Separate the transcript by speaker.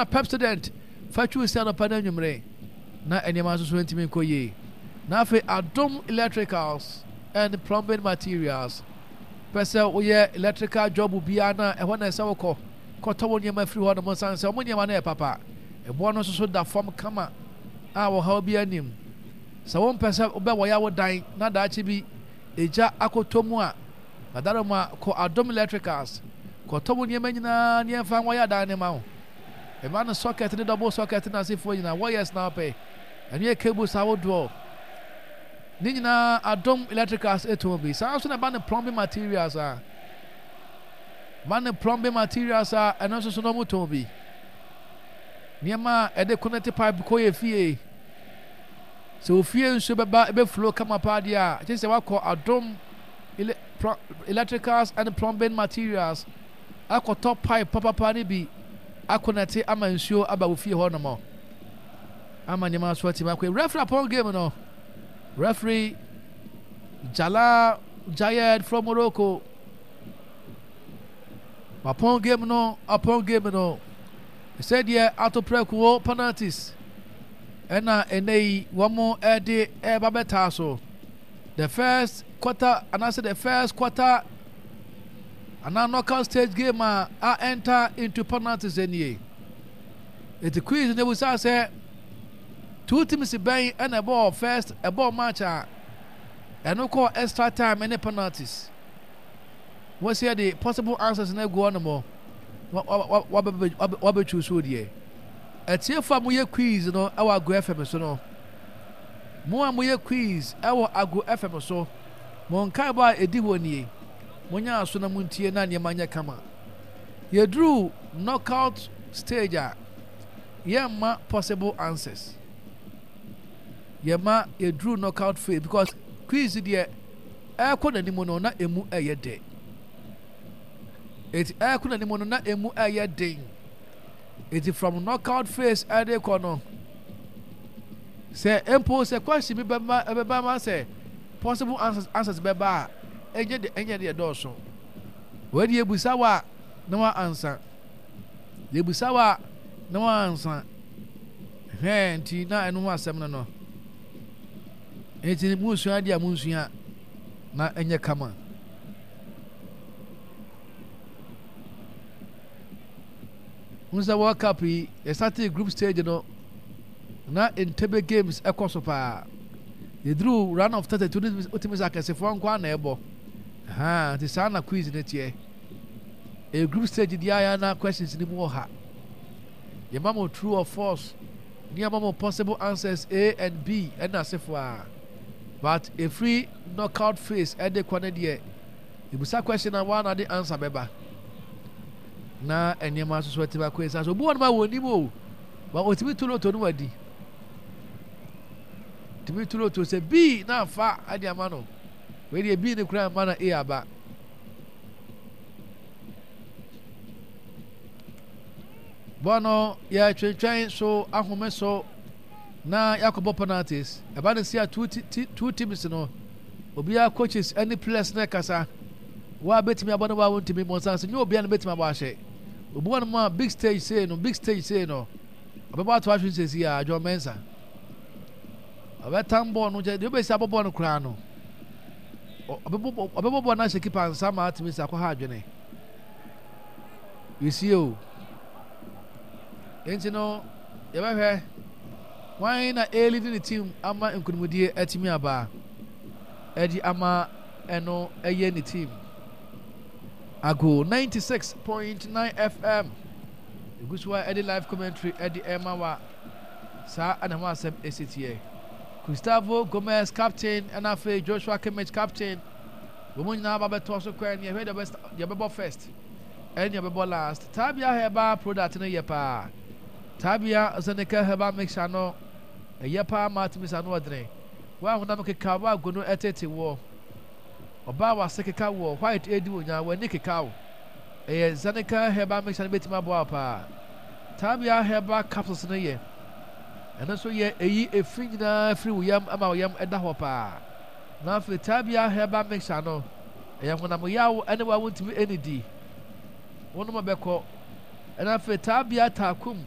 Speaker 1: Pepsodent fa twiw se anɔpa ne anwummere na nneɛma nso so ntumi nkɔ yie. Na afei Adom Electricals and Plumbing Materials pɛ sɛ woyɛ electrical job biara na ɛhɔ na ɛsɛ wokɔ kɔtɔ wo nneɛma firi hɔ nom nsan sɛ wɔn nneɛma no yɛ papa. Ɛboɔ no nso so da fam kama a ɔhaw biara nnim. Sɛ wompɛ sɛ wobɛwɔya wo dan na daakye bi egya akɔtɔ mu a, Adaroma kɔ Adom Electricals kɔtɔ wo nneɛma nyinaa ne ɛmfa nwɔya dan no ma wo. Ɛma no socket ne double socket ne asefoɔ nyinaa, wires na wopɛ, ɛno yɛ cables ahodoɔ. Ne nyinaa Adom Electricals ɛtɔn bi. Saa nso na ɛba no plumbing materials a, ba no plumbing materials a ɛno nso so na wɔtɔn bi. Nneɛma a ɛde connect pipe kɔ yɛ fie. Sɛ ofie nsuo bɛba ɛbɛflow kama paa deɛ a, kyerɛ sɛ wakɔ Adom Electricals and Plumbing Materials akɔtɔ pipe papapa no bi akɔnɛte ama nsuo aba wo fie hɔ nom ama nneɛma so atumi akɔ. Referee apɔn game no. Referee Jalal Jayed from Morocco. Apɔn game no, apɔn game no. Sɛdeɛ ato prɛko penalties ɛna ɛnɛ yi wɔn ɛde ɛba bɛtaa so. The first quarter anaasɛ the first quarter anaa knockout stage game a a enter into penalties nie. Eti quiz no ebusa sɛ two teams bɛn ɛna ɛbɔɔ first ɛbɔɔ match a ɛno kɔɔ extra time ne penalties. Wɔsi ɛde possible answers no agu hɔ nom wabɛtwi so deɛ. Atiefo a moyɛ quiz no ɛwɔ Ago FM so no. Mo a moyɛ quiz wɔ Ago FM so, mo nkaebɔ a ɛdi hɔ nie, Monyɛ aso na montie na nneɛma nyɛ kama. Yɛduru knockout stage a, yɛmma possible answers. Yɛma yɛduru knockout phase because quiz deɛ ɛrekɔ n'anim no na emu ɛyɛ dɛ. Eti ɛrekɔ n'anim no na emu ɛyɛ den. Eti from knockout phase ɛde kɔ no, sɛ mpo sɛ question bi bɛba ɛbɛba ma sɛ possible answers answers bɛba a, ɛnyɛ de ɛnyɛ deɛ dɔɔso. Wei deɛ ebusa wa na wa ansa. Ebusa wa na wa ansa. Hɛn nti na ɛno ho asɛm no no. Nti munsua adeɛ a munsua na ɛnyɛ kama. Wohu sɛ World Cup yi, yɛstartee group stage no, na Entebbe games ɛkɔ so paa. Yɛduru round of 32 no, wotumi sɛ akɛsefoɔ nko ara na ɛbɔ. Ha, nti saa na quiz no teɛ. Ɛyɛ group stage deɛ ayɛ na questions no mu wɔ ha. Yɛma mo true or false, ne yɛma mo possible answers A and B ɛna asefoɔ a. But ɛfiri knockout phase ɛde kɔ no deɛ, Ebisa question a woa na de answer bɛba. Na nneɛma nso so atumi akɔ nsa so. Obi wɔ nom a wɔnim o, ba otumi to loto no wadi. Tumi to loto sɛ B na afa ade ama no. Wei deɛ B no koraa mma na A aba. Bɔɔl no yɛtwentwɛn so ahome so na yɛakɔbɔ penalties. Ɛba no si a two, two teams no, obiara coaches ne players no kasa. Wo a bɛtumi abɔ no wo a wontumi mmɔ nsa so nyɛ obiara na bɛtumi abɔ ahyɛ. Obi wɔ no mu a big stage sei no, big stage sei no, ɔbɛbɔ ato ahwe nsɛsi a John Mensah. Ɔbɛtam bɔɔl no kyɛ deɛ ɔbɛsi abɔ bɔɔl no koraa no. Ɔbɛbɔ bɔɔl no ahyɛ kipa nsa ma atumi sɛ akɔha adwene. You see o. Enti no, yɛbɛhwɛ hwan na ɛrelidi ne team ama nkunimdie atumi aba ɛde ama ɛno ɛyɛ ne team. Ago 96.9 FM egu so a ɛde live commentary ɛde ɛma wa saa ɛna ho asɛm ɛsi teɛ. Gustavo Gomez captain ɛna afei Joshua Kimmich captain wɔn nyinaa ba bɛtoa so kwan ne ɛhwɛ deɛ ɔbɛbɔ first. Ɛne ɔbɛbɔ last. Tabia herbal product no yɛ paa. Tabia Zeneca herbal mixture no ɛyɛ paa ma atumi sa ano ɔdene. Wo a honam keka wo a gono ɛtete woɔ. Ɔbaa a wase keka woɔ, white ɛredi wo nya, w'ani keka wo. Ɛyɛ Zeneca herbal mixture no bɛtumi aboa wo paa. Tabia herbal capsules no yɛ. Ɛno nso yɛ ɛyi efi nyinaa firi wo yam ma wo yam ɛda hɔ paa. Na afei Tabia herbal mixture no. Ɛyɛ honam yaw ne wa wontumi nnidi. Wonom a bɛkɔ. Ɛna afei taabea taakum.